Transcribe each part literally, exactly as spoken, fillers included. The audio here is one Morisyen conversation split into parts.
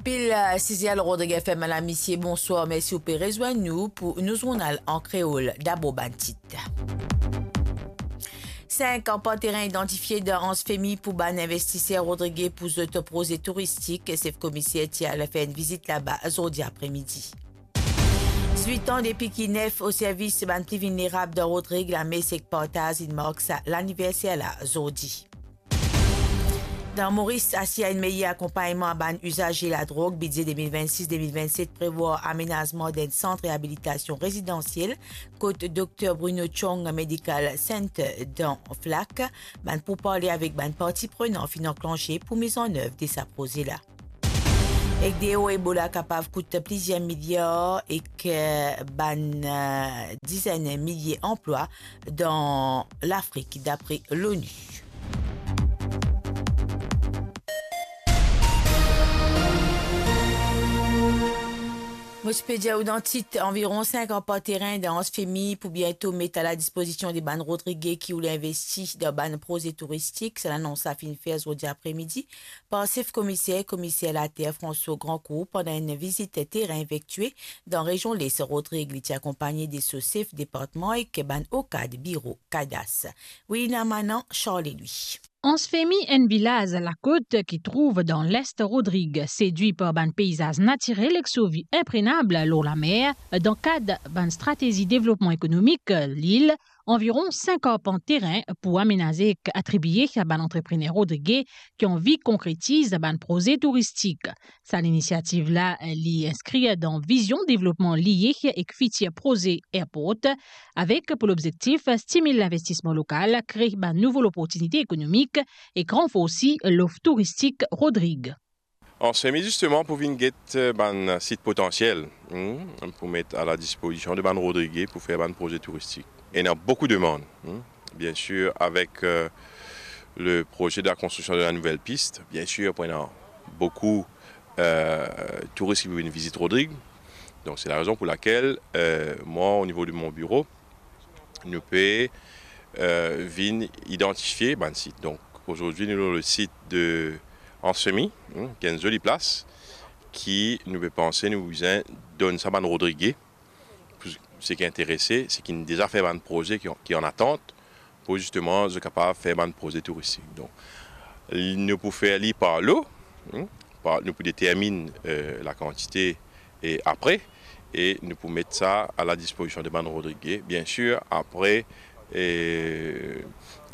Pil, eh, size lor Rodrig F M, lamisie, bonswar, mersi ou pe rezwenn nou pou nou zournal an kreol. Dabor bann tit. Sink arpant terin idantifie dan Anse Femy pou bann investiser Rodrig pou zot proze touristik. Sef komiser ti al fer enn vizit laba zordi apremidi. Dizwit an depi ki nef o servis bann pli vilnerab dan Rodrig, lames ek partaz inn mark sa laniverser la zordi. Dan Moris, asir enn meyer akonpagnman a bann izaze ladrog, bidze de mil vennsis de mil vennset prevwar amenazman d'enn sant reabilitasion rezidansiel kot Dokter Bruno Chong Medical Center dan Flak. Bann pourparle avek bann parti prenan finn anklanse pou miz an nev de sa proze la. Ek de eo Ebola kapav kout plizier miliar ek, eh, bann, eh, dizenn milie anplwa dan Lafrik, dapre l'ONU. Mo ti pe dir ou dan tit, anviron sink arpant terin dan Anse Femy pou biento met a ladispozision de bann Rodrige ki oule investi dan bann proze touristik. Sa lanons la finn fer zordi apremidi par sef komiser, komiser later François Grandcourt, pandan enn vizit terin efektie dan rezion Les Rodrig. Li ti akonpagne de so sef departman ek bann okad biro kadas. Wilina Manan, Charles Louis. Anse Femy, enn vilaz lakot ki trouv dan lest Rodrig, sedwi par bann peizaz natirel ek so vi inprenab lor lamer. Dan kad bann stratezi devlopman ekonomik lil, anviron sink arpant terin pou amenaze ek atribie a bann antreprener Rodrige ki anvi konkretiz bann proze touristik. Sa linisiativ la, li inskrir dan vizion devlopman lie ek fitir proze airport, avek pou lobzektif stimil linvestisman lokal, kre bann nouvo loportinite ekonomik ek ranforsi lof touristik Rodrig. Anse Femy, zisteman, pou vinn get, eh, bann sit potansiel, hmm, pou met a ladispozision de bann Rodrige pou fer bann proze touristik. Ena boukou demann, hmm. Biensir, avek, eh, le proze de la konstriksion de la nouvel pis, biensir, pou ena boukou, eh, touris ki pou vinn vizit Rodrig. Donk, se la rezon pou lakel, eh, mwa, o nivo de mon biro, nou pe, eh, vinn idantifie bann sit. Donk, azordi, nou lor le sit de Anse Femy, hmm, ki enn zoli plas, ki nou pe panse nou bizin donn sa bann Rodrige, pou seki interese, seki deza fer bann proze ki, ki an atant, pou zisteman zot kapav fer bann proze touristik. Donk, li, nou pou fer li par lo, hmm, par, nou pou determinn, eh, lakantite e apre, e nou pou met sa a ladispozision de bann Rodrige, biensir, apre, eh,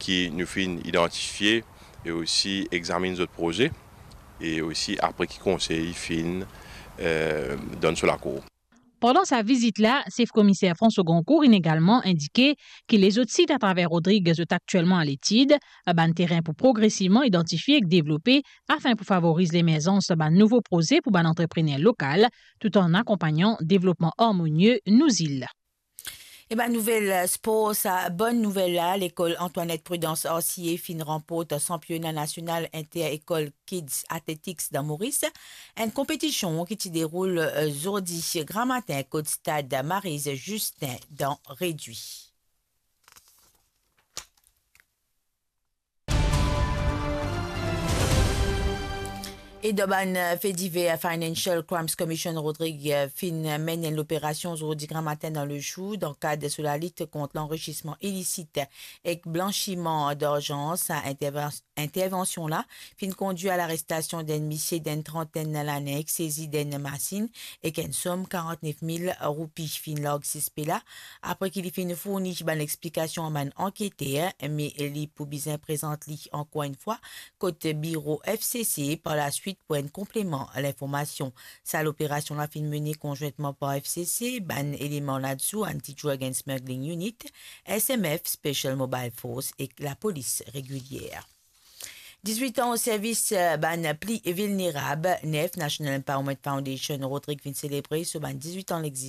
ki nou finn idantifie e osi examinn zot proze, e osi apre ki konsey finn, eh, donn so lakor. Pandan sa vizit la, sef komiser François Grandcourt inn egalman indike ki lezot sit atraver Rodrig zot aktielman a letid, bann terin pou progresivman idantifie ek devlope, afin pou favoriz lemerzans bann nouvo proze pou bann antreprener lokal, tou an akonpagnan devlopman armonie nou zil. E bann nouvel spor, sa bonn nouvel la, lekol Antoinette Prudence Arcier finn ranport sanpiona nasional inter-ekol Kids Athletics dan Moris, enn konpetision ki ti deroul, eh, zordi gramatin kot stad Maryse Justin dan Redui. E dan bann, eh, fe diver, Financial Crimes Commission Rodrig, eh, finn menn enn loperasion zordi gramatin dan lezour dan kad so lalit kont lanrisisman ilisit ek blansiman darzan. Sa intervan-, intervansion la finn kondwir a larestasion d'enn misie d'enn trantinn lane, ek sezi d'enn masinn ek enn som karant-nef mil roupi. Finn larg sispe la apre ki li finn fourni bann explikasion a bann anketer, me li pou bizin prezant li ankor enn fwa kot biro F C C par laswit pou enn konpleman linformasion. Sa loperasion la finn mene konzwintman par F C C, bann eleman lazour Anti-Drug and Smuggling Unit, S M F, Special Mobile Force ek lapolis regilier. Dizwit an o servis, eh, bann pli vilnerab, nef, National Empowerment Foundation Rodrig finn selebre so bann dizwit an